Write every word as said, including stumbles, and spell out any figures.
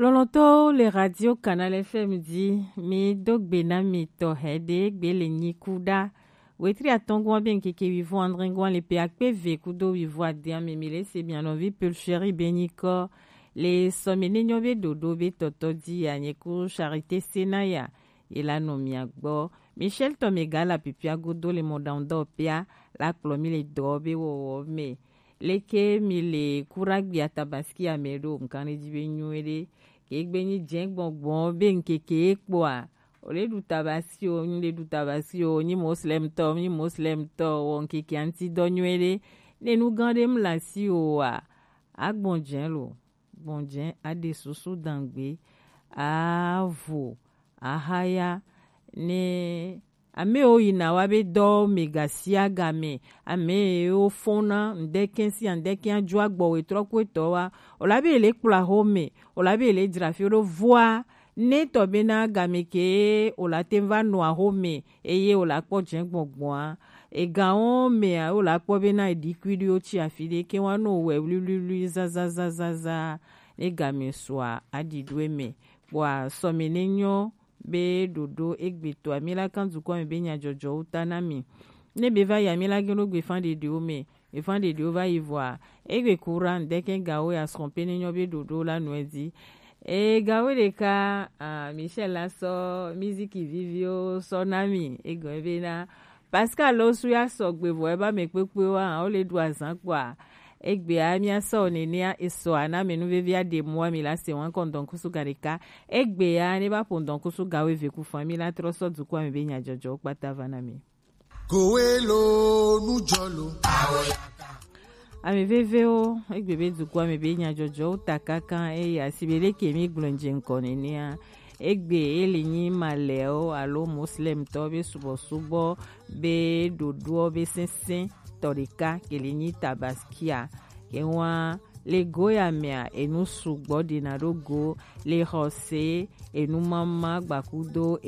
Lɔlɔ̃tɔwo le Radio Canal F M dzi, mi do gbe na mi tɔ hɛɖe gbe le nyi ku ɖa. Wetri atɔ̃ gɔ̃a be ŋkeke wivɔn adre gɔ̃a le pe akpe ve kudo wivɔn adea me, mi le se mia nɔvi Pulcheri be nyikɔ le sɔme ne nyɔ be ɖoɖo be tɔtɔ dzi ya nye ku Charité Senaya ye la nɔ mia gbɔ. Michel tɔ me ga la pipia godo le mɔɖaŋudɔwɔƒea la kplɔ mi le dɔ be wɔwɔ me. Leke mi le kura gbia Tabaski ame ɖo? Ŋkan ɖe dzi be nyuiɖe. Ke gbe nyi dze gbɔgbɔ be ŋkeke ye kpɔa, o le ɖu Tabaski o, nyi le ɖu Tabaski o, nyi Moslem tɔ, nyi Moslem tɔ, wɔ ŋkeke aŋti dɔ nyuiɖe. Ne nu gã ɖe mla si o wa, agbɔn dze lo, gbɔn dze aɖe susu dangbe, avo, ahaya, ne ame wo yina wa be dɔ me gasia game, ame wo fona, ŋdeke si ŋdeke adzo agbɔ we trɔ ku etɔ wa, o la be le kpla ho me, o la be le dzra fi ɖo voa, ne tɔ be na game ke o la te va nɔ aho me, eye o la kpɔ dze gbɔgbɔa, egawo mea o la kpɔ be na eɖi kui ɖi o tsi afi ɖe ke wa no wɛ wliwliwli zazazazaza, ne game sua aɖi ɖo eme. Kpɔa sɔme ne nyɔ be ɖoɖo egbetɔa mi la kan dukɔ me be nyadzɔdzɔwo ta na mi. Ne be va ya mi la geno gbe fan ɖeɖewo me, gbe fan ɖeɖewo va yi vɔa, egbe kura ŋdeke gawo ya srɔ̃ pe ne nyɔ be ɖoɖo la nɔe dzi. E gawo ɖeka, ah, Michel la sɔ miziki viviwo sɔ na mi, egɔme be na Pascal lo su ya sɔgbe vɔ eba me kpekpe wa, o le ɖu azan kpɔa. Egbea mia sɔ nenea esɔ ana me nu vevi aɖe mua mi la se wan kɔ ŋdɔn kusu ga ɖeka. Egbea ne va ƒo ŋdɔn kusu ga wo eve ku fan mi la trɔ sɔ dukɔa me be nyadzɔdzɔwo kpata va na mi. Kowe lo nujɔ lo. Ame vevewo, egbe be dukɔa me be nyadzɔdzɔwo ta kankan eye asi be leke mi gblɔ dze ŋkɔ nenea. Egbe ele nyi malɛwo alo moslemtɔ be subɔsubɔ be ɖoɖoɔ be sesẽ tɔ ɖeka ke le nyi Tabaskia. Ke wa le go ya mea enu sugbɔ ɖena ɖo go le xɔse enu mama gbakudo